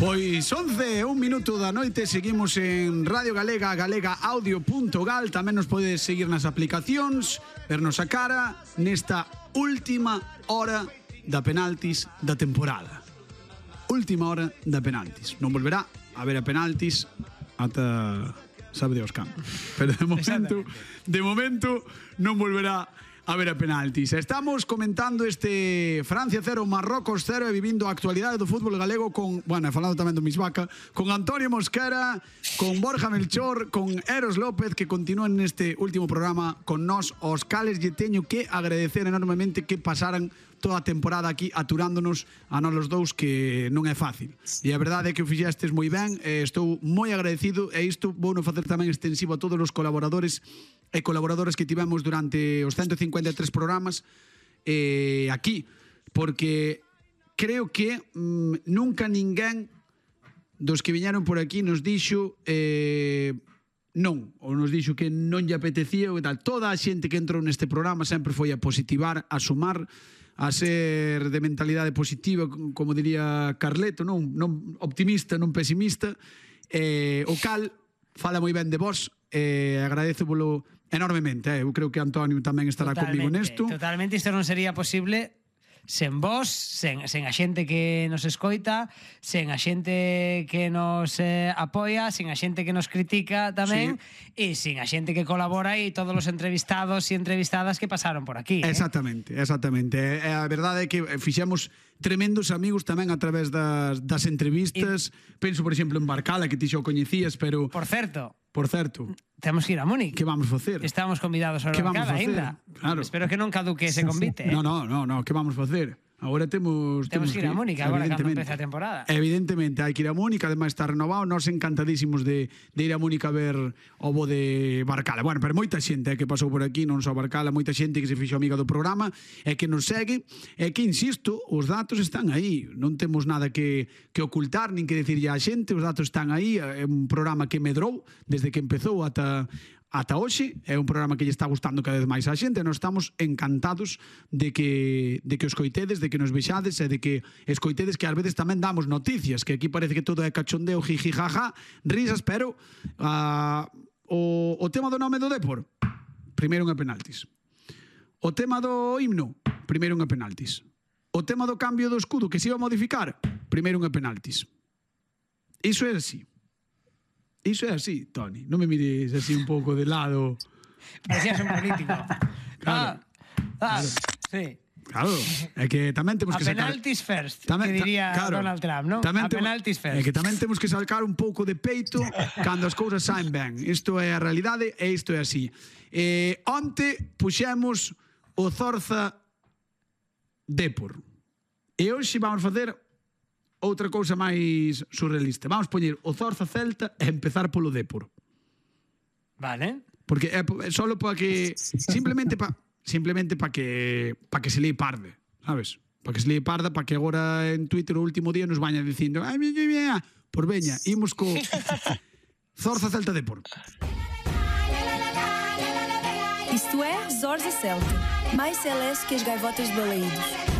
Pois 11, un minuto da noite. Seguimos en Radio Galega, galegaaudio.gal. Tamén nos podes seguir nas aplicacións, vernos a cara nesta última hora da penaltis da temporada. Última hora da penaltis. Non volverá a ver a penaltis ata sabe Dios can. Pero de momento non volverá a ver a penaltis. Estamos comentando este Francia 0, Marrocos 0 e vivindo a actualidade do fútbol galego con, bueno, falando tamén do Misvaca, con Antonio Mosquera, con Borja Melchor, con Eros López, que continúan neste último programa con nós, os cales lle teño que agradecer enormemente que pasaran toda a temporada aquí aturándonos a nós os dous, que non é fácil. E a verdade é que o fixestes moi ben, estou moi agradecido, e isto vou non facer tamén extensivo a todos os colaboradores e colaboradoras que tivemos durante os 153 programas aquí, porque creo que nunca ninguén dos que viñeron por aquí nos dixo non, ou nos dixo que non lle apetecía ou tal. Toda a xente que entrou neste programa sempre foi a positivar, a sumar, a ser de mentalidade positiva, como diría Carleto, non optimista, non pesimista, o cal fala moi ben de vos, agradecevolo enormemente. Eu creo que Antonio tamén estará comigo nesto. Totalmente, isto non sería posible sen vos, sen a xente que nos escoita, sen a xente que nos apoia, sen a xente que nos critica tamén, e sen a xente que colabora e todos os entrevistados e entrevistadas que pasaron por aquí. Exactamente. A verdade é que fixemos tremendos amigos tamén a través das entrevistas. Penso, por exemplo, en Barcala, que ti xa o coñecías, pero... Por certo, temos que ir a Múnich. Que vamos facer? Estamos convidados a Barcala ainda. Claro. Espero que non caduque ese convite. No, que vamos facer? Agora temos que ir a Múnich, agora cando empeza a temporada. Evidentemente, hai que ir a Múnich, ademais está renovado. Nós encantadísimos de ir a Múnich a ver o bo de Barcala. Bueno, pero moita xente que pasou por aquí, non só Barcala, moita xente que se fixo amiga do programa e que nos segue, e que, insisto, os datos están aí. Non temos nada que ocultar, nin que dicirlle á xente, os datos están aí. É un programa que medrou desde que empezou ata hoxe, é un programa que lle está gustando cada vez máis á xente, e nós estamos encantados de que os coitedes, de que nos vexades e de que escoitedes, que ás veces tamén damos noticias, que aquí parece que todo é cachondeo, jiji, jaja, risas, pero o tema do nome do Depor, primeiro unha penaltis. O tema do himno, primeiro unha penaltis. O tema do cambio do escudo que se iba a modificar, primeiro unha penaltis. Iso é así. Iso é así, Toni. Non me mires así un pouco de lado. Parecías un político. Claro. Sí. Claro, é que tamén temos que sacar... A penaltis first, que diría Donald Trump, non? A penaltis first. É que tamén temos que sacar un pouco de peito cando as cousas saen ben. Isto é a realidade e isto é así. Onte puxemos o Zorza Depor. E hoxe vamos facer outra cousa máis surrealista. Vamos poñer o Zorza Celta e empezar polo Depor. Vale. Porque é solo para que... Simplemente para que se lee parde, sabes? Para que se lee parda, para que agora en Twitter o último día nos vayan dicindo por veña, imos co Zorza Celta Depor. Isto é Zorza Celta, mais celeste que as gaivotas de Balaídos.